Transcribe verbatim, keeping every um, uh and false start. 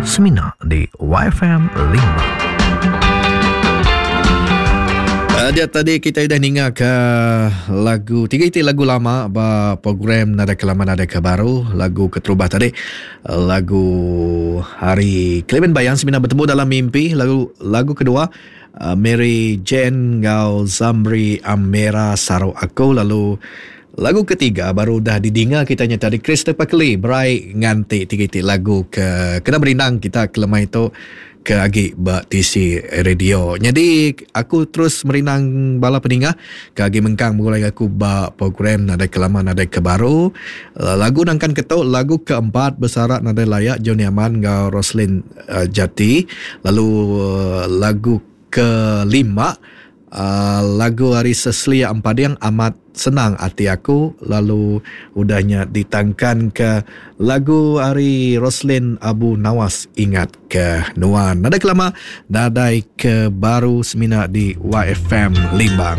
Semina di Y F M Limbang. Uh, dia tadi kita dah ninga ke lagu tiga iti lagu lama ba program Nadai Kelama Nadai Ke Baru. Lagu keterubah tadi lagu Hari Clement Bayang Semina Bertemu Dalam Mimpi. Lagu lagu kedua uh, Mary Jane ngau Zamri Amera Saru Aku. Lalu lagu ketiga baru dah didinga kita nya tadi Christopher Kelly Berai Nganti. Tiga iti lagu ke kena berindang kita kelemai tu ke agi ba T C Radio. Jadi aku terus merindang bala peninga ke agi mengkang mulai aku ba program Nadai Kelama Nadai Ke Baru. Lagu nangkan ketu lagu keempat Besarak Nadai Layak Johnny Aman ngau Roslin uh, Jati. Lalu uh, lagu kelima uh, lagu hari Cecilia Empading Amat Senang Ati Aku. Lalu udahnya ditangkan ke lagu hari Roslin Abu Nawas Ingat Ke Nuan. Nadai Kelama Nadai Ke Baru semina di Y F M Limbang.